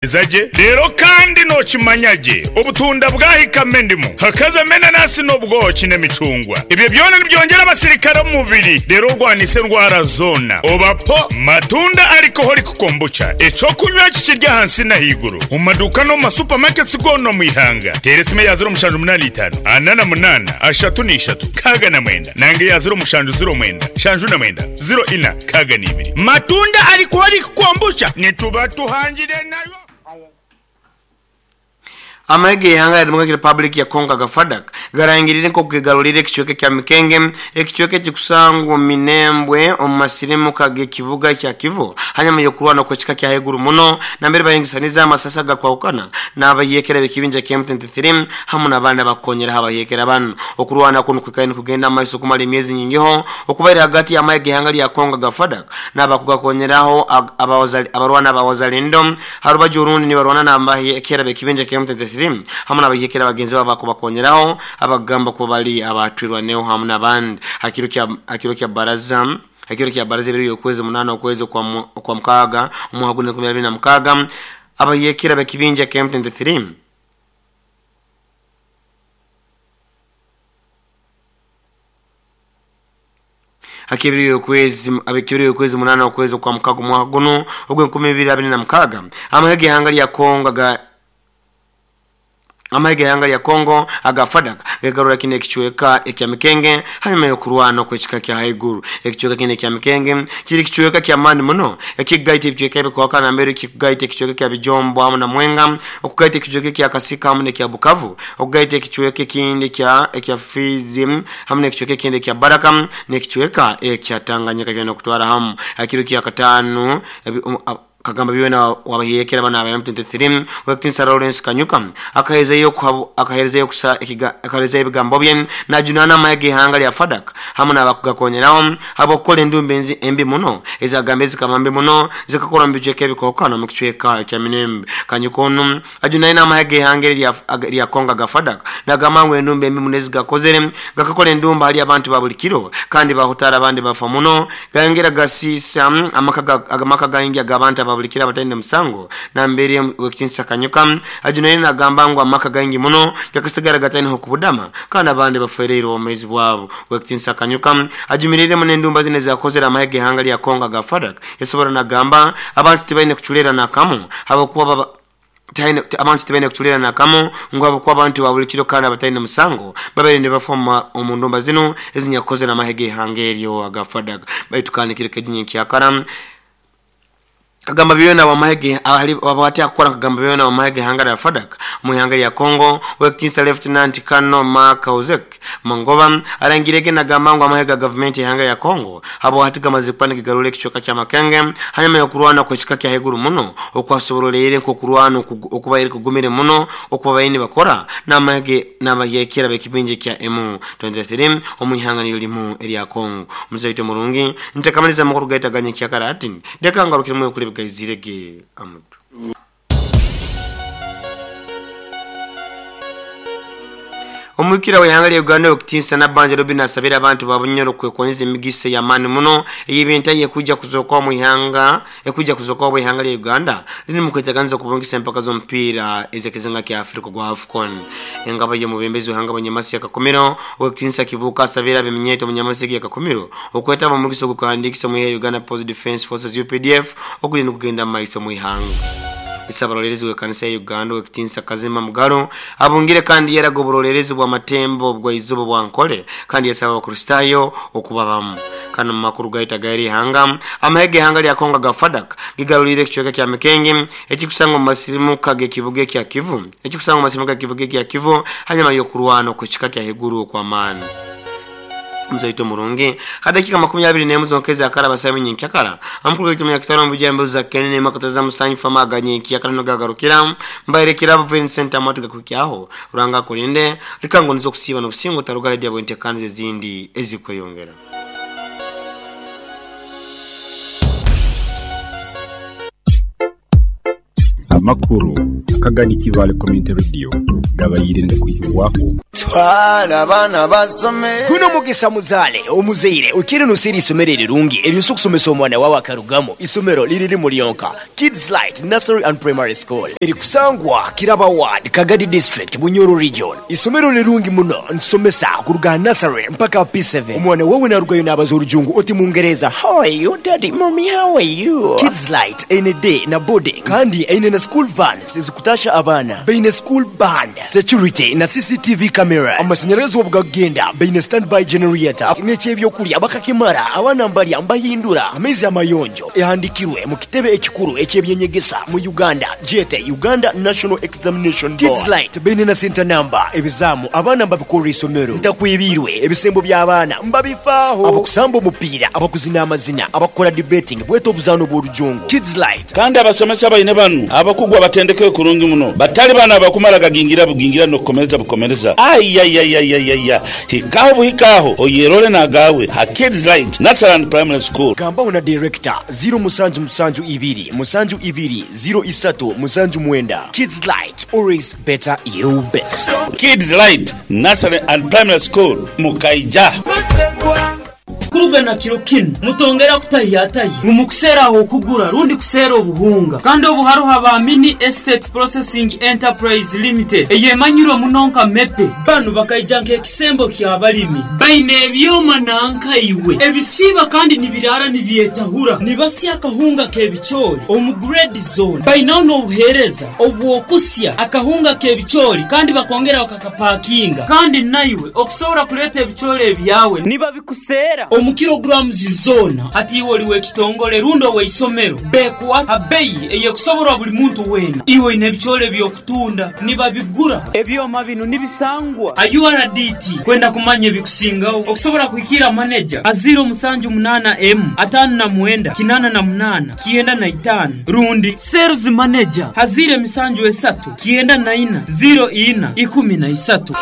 Eza gye. Reero kandi nookimanya gye, obutunda bwahikamu endimu, hakazamu enanasi n'obwoki n'emicungwa. Ebyo byona nibyongyera abasirikare omu mubiri reero orwanise endwara zoona. Oba po! Matunda Alcoholic Kombucha, eky'okunywa eki kiri ahansi n'ahaiguru omu maduuka n'omu ma supermarkets goona omu ihanga. Teera esimu eya 0785, 48, 33, 69 nanga eya 0709, 79, 04, 62. Matunda Alcoholic Kombucha nituba tuhangire nayo. Amahe g'eihanga lya Democratic Republic ya Congo aga FARDC garangiriire nk'oku gegaruriire ekicweka ekya Mikenge, ekicweka ekikusangwa omu Minembwe omu masirimuka g'ekibuga ekya Kivu hanyuma y'okurwana okw'ekika kya haiguru muno nambere bahingisaniza amasasi agakwahukana n'abayeekera b'ekibinja kya M23 hamu n'abandi abakukonyeraho abayeekera banu. Okurwana kunu kwikaire nikugenda mumaiso kumara emyezi nyingiho okubaire hagati y'amahe g'eihanga lya Congo aga FARDC n'abakugakonyeraho abarwana aba Wazalendo ha rubaju orundi nibarwana n'abayeekera b'ekibinja kya M23 hamu n'abayeekera bagenzi babo abakubakonyeraho abakugamba kuba bali aba Twirwaneho hamu n'abandi. Ha kiro kya baraza ha kiro kya baraza ebiro by'okwezi munaana okwezi okwa mukaaga omwaka gunu 2026 abayeekera b'ekibinja kya M23 Hak'ebiro y'okwezi munaana okwezi okwa mukaga omwaka gunu ogw'enkumi ibiri abiri na mukaaga, amahe g'eihanga lya Congo aga Amahe g'eihanga lya Congo aga FARDC gegarura kinu ekicweka ekya Mikenge hanyuma y'okurwana okw'ekika kya haiguru. Ekicweka kinu ekya Mikenge kiri kicweka ky'amaani muno ekikugaita ebicweka ebikuhakana nambere kikugaita ekicweka ekya Bijombo hamu na Mwenga, okugaita ekicweka ekya Kasika hamu n'ekya Bukavu, okugaita ekicweka ekindi ekya Fizi hamu n'ekicweka ekindi ekya Baraka n'ekicweka ekya Tanganyika byona okutwara hamu. Ha kiro kya Kataano, Kagamba byona wabahyekera banu aba M23 Ow'ekitinisa Lawrence Kanyuka akaherezayo akaherezayo ebigambo bye najunaana amahe g'eihanga lya FARDC hamu n'abakugakonyeraho habw'okukora endumba embi muno ezagambire zikaba mbi muno zikakorwa omu bicweka ebikookana omu kicweka ekya Minembwe. Kanyuka onu ajunaine amahe g'eihanga eri erya Congo aga FARDC nagamba ngu endumba embi muno ezigakozere gakakora endumba hali abantu ba buli kiro kandi bahutaara abandi bafa muno gayongera gasiisa amaka gaingi ag'abantu aba buli kiro abataine musango. Nambere Owekitinisa Kanyuka ajunaine nagamba ngu amaka gaingi muno gakasigara gataine h'okubudama kandi abandi bafwereire obwomeezi bwabo. Owekitinisa Kanyuka ajumiriremu n'endumba zinu ezakozere amahe g'eihanga lya Congo aga FARDC esobora nagamba abantu tibaine kuculeera nakamu habwokuba Abantu tibaine kuculeera nakamu ngu habwokuba abantu ba buli kiro kandi abataine musango babaire nibafa omu ndumba zinu ezinyakukozere amahe g'eihanga eryo aga FARDC. Baitu kandi kiro keginya ekyakara Kagamba byona habwati akukora Kagamba byona wamahe g'eihanga lya FARDC omu ihanga lya Congo Ow'ekitinisa Lieutenant Colonel Mark Ozek Mangoba arangirege nagamba ngu amahe ga gavumenti y'eihanga lya Congo habwahati gamaze kuba nigigarura ekicweka kya Makenge hanyuma y'okurwana okw'ekika kya haiguru muno okwasoboroleire nk'okurwana okubaire kugumire muno okubabaire nibakora n'amahe n'abahyekera b'ekibinja ekya M23 omu ihanga niryo limu erya Congo. Omuzaito omurungi ntakamaliza amakuru gaitu aga nyenkyakara hati leka ngarukiremu ebikuru ebigaizirege amutwe. Omwikira w'eihanga lya Uganda Owekitiinisa Nabbanja Robinah asabire abantu ba Bunyoro kwekonyeza emigisa ey'amaani muno ey'ebintahi ekwija kuzookaho omu ihanga ekwija kuzookaho obu eihanga lya Uganda liri mu kweteganiza okubungisa empaka z'omupiira ez'ekizinga kya Africa ogwa AFCON. Engabo y'omwebembezi w'eihanga Bunyamasi ya Kakumiro, Owekitiinisa Kibuuka asabire ab'eminyeeto omu Nyamasi egi ya Kakumiro okwetaba omu mugisa ogw'okwehandiikisa omu ihe Uganda People's Defence Forces, UPDF, oguriyo nigugenda mu maiso omu ihanga. Isabarolerezi w'ekanisa ya Uganda Owekitiinisa Kazima Mugalu abungire kandi yaraga oburolerezi bw'amatembo bwa izoba bwa Ankole kandi yasaba Abakristaayo okuba bamu. Kandi omu makuru gaitu ag'eri ihanga, amahe g'eihanga lya Congo aga FARDC gigaruriire ekicweka kya Mikengi ekikusangwa omu masirimuka g'ekibuga ekya Kivu ekikusangwa omu masirimuka g'ekibuga ekya Kivu hanyuma y'okurwana okw'ekika kya haiguru okw'amaani. Omuzaito omurungi, ha dakiika 21 zonka ezakaraba saaha nyenkyakara, amakuru gaitu omunyakitara omu bijambizo za Kenene Makataza Musanyi Fama aga nyenkyakara nigo gagarukira. Mbaire Kirabo Vincent Amatu gakuhikyaho. Ruhanga akulinde, leka ngu niza okusiiba n'obusinge otarugara dya bwentekaniza ezindi ezikweyongera. Amakuru akagani Kibaale Community Radio gabaire nigakuhikibwaho. Twala abaana basome. Guno mugisa muzaale omuzaire oikire noseera eisomero erirungi eryosobola okusomesa omwana wawe akarugamu. Isomero liri limu lyonka, Kids Light Nursery and Primary School eri kusangwa Kiraba Ward, Kagadi District, Bunyoro Region. Isomero lirungi muno nsomesa kuruga aha nursery mpaka aha P7. Omwana wawe narugayo nabaza orujungu oti mungereza, How are you daddy, mummy how are you? Kids Light eine day na boarding kandi eine na school vans ezikutasha abaana. Baine school band, security na CCTV cameras. Amasanyarazi obu gakugenda baine standby generator n'eky'ebyokurya bakakimara abaana mbarya mbahindura amaizi amayonjo. Ehandikirwe mu kitebe ekikuru eky'ebyenyegesa mu Uganda gyete Uganda National Examination Board. Kids Light baine na center number, ebizaamu abaana mbabikorra isomero. Ntakwebiirwe ebisembo by'abaana mbabifaaho. Abakusamba omupiira, abakuzina amazina, abakukora debating bwete obuzaano bw'orujungu. Kids Light. Kandi abasomesa baine banu abakugu abatendekeirwe kurungi muno, batali bano abakumara gagingira bugingira n'okukomereza bukomereza. Aiaiaiaiaia! Hikaho buhika agho oyerole n'agaawe ha Kids Light Nursery and Primary School. Gambaho na Director, ziro musanju musanju ibiri musanju ibiri ziro isatu musanju mwenda. Kids Light, always better you best. Kids Light Nursery and Primary School, Mukaija. Kuruga na kiro kinu, mutongera kutahiyatahya ngu mukuseera ah'okugura rundi kuseera obuhunga. Kandi obu haroho aba Mini Estate Processing Enterprise Limited eyemanyirwe muno nka MEPE. Banu bakaija nk'ekisembo ky'abalimi. Baine ebyoma nanka iwe ebisiiba kandi nibiraara nibyetahura nibasya akahunga k'ebicoori omu grade zoona. Bainaho n'obuheereza obw'okusya akahunga k'ebicoori kandi bakongera bakakapakinga. Kandi naiwe okusobora kuleeta ebicoori ebyawe nibabikuseera omu kilograms zoona. Hati iwe oli w'ekitongole rundi ow'eisomero, beekuha ha beyi ey'ekusoborwa buli muntu weena. Iwe oine ebicoori eby'okutunda, nibabigura. Ebyoma binu nibisangwa ha URDT. Kwenda kumanya ebikusingaho, okusobora kuhikiira maneja ha ziiro musanju munaana emu, ataano na mwenda, kinaana na munaana, 95 rundi Sales Manager ha ziiro emisanju esatu, 94, ziiro ina, 13.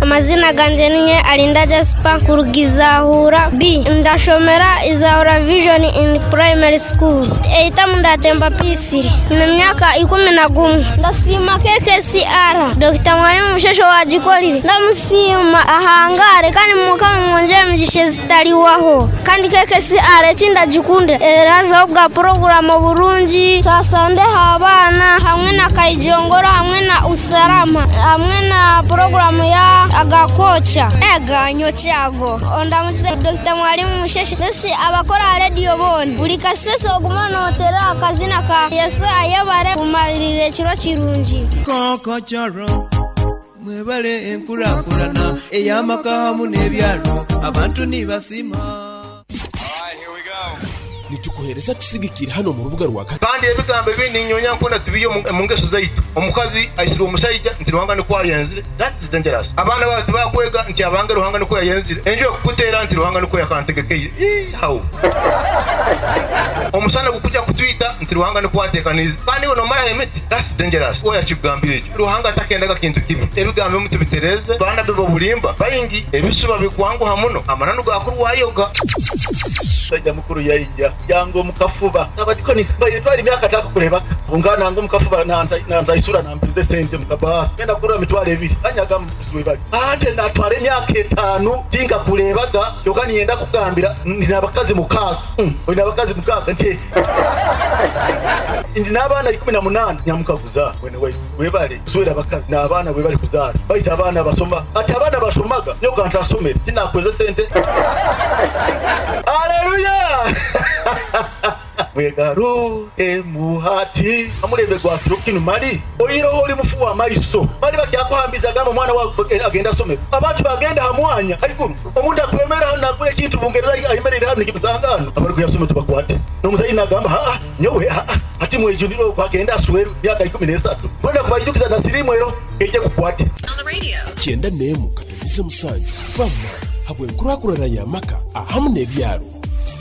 Amazina gangye ninye Arinda Jasper kuruga Izahura B. Ndashomera Izahura Vision in Primary School. Eitamu ndatemba P3. Nyine emyaka 11. Ndasiima KKCR. Dokita Mwalimu Musheshe owagikorire. Ndamusiima ahangare kandi Mukama amwongyere emigisha ezitariwaho. Kandi KKCR eki ndagikundira erazaho bwa puroguramu burungi twasandeho abaana hamwe na Kaijongoro hamwe na Usalama hamwe na puroguramu ya Agakookya. Ega nyokyago. Ondamukize Dokita Mwalimu Musheshe mbese abakora aha rediyo boona. Buri kasese ogume noteera aha kazina ka Yesu ayebare kumarira ekiro kirungi. Kokochoro mwebale enkurakurana ey'amaka hamu n'ebyaro abantu nibasiima. Nitukuhereza tusigikire hano mu rubuga rwa Kandi ebigambo ebi ninyonya nkona tubiye omu ngeso zaitu. Omukazi aisirwe omusaija nti Ruhanga nikwo ayenzire. That is dangerous. Abaana bawe tibakwega nti abange Ruhanga nikwo yayenzire. Enju ekukuteera nti Ruhanga nikwo yakantegekeire. Ii, how? Omusana gukuja kutwita nti Ruhanga nikwo ateekaniize. Kandi iwe nomaraho emiti. That's dangerous. Oya kikugambire ekyo. Ruhanga takendaga kintu kibi. Ebigambo ebimu tubitereeze. Baanabi b'obulimba baingi. Ebisuba bikwanguha muno. Amananu gakurwayoga. Omusaija mukuru yaija yanga omu kafuba. Abadikoni baire twara emyaka atakukureebaka. Ngu nanga omu kafuba nantaisura nampize sente mu kabaasa. Ngenda kugura 20,000. Anyaga mukuzi webali. Ante natwara emyaka etaano tinkakureebaga kyoka niinyenda kukugambira ndi n'abakazi mukaaga. Oine abakazi mukaaga nti ndi n'abaana 18. Nyamukaguza mwene waitu webale kuswera abakazi n'abaana webale kuzaara. Baitu abaana basoma. Ati abaana bashomaga nyowe ka ntasomere tinakweze sente. Aleluya! Mwegaruke hati. Omulembe gwa kiro kinu mali oiroho oli mufu wa maiso. Mali bakyakuhambiza gamba omwana wawe agenda asome. Abantu bagenda ha mwanya haiguru. Omuntu akwemera hanu nagura ekintu Bungereza ayemereire hanu nikimusanga hanu. Abarikuyasoma tubakwate. N'omuzaire nagamba haa nyowe haa hati mwejunire okwo agenda asweru myaka 13. Mbwenu akubaijukiza na sirimu ero eije kukwate. Kyenda n'emu katonize musanju fama habw'enkurakurana y'amaka ahamu n'ebyaro.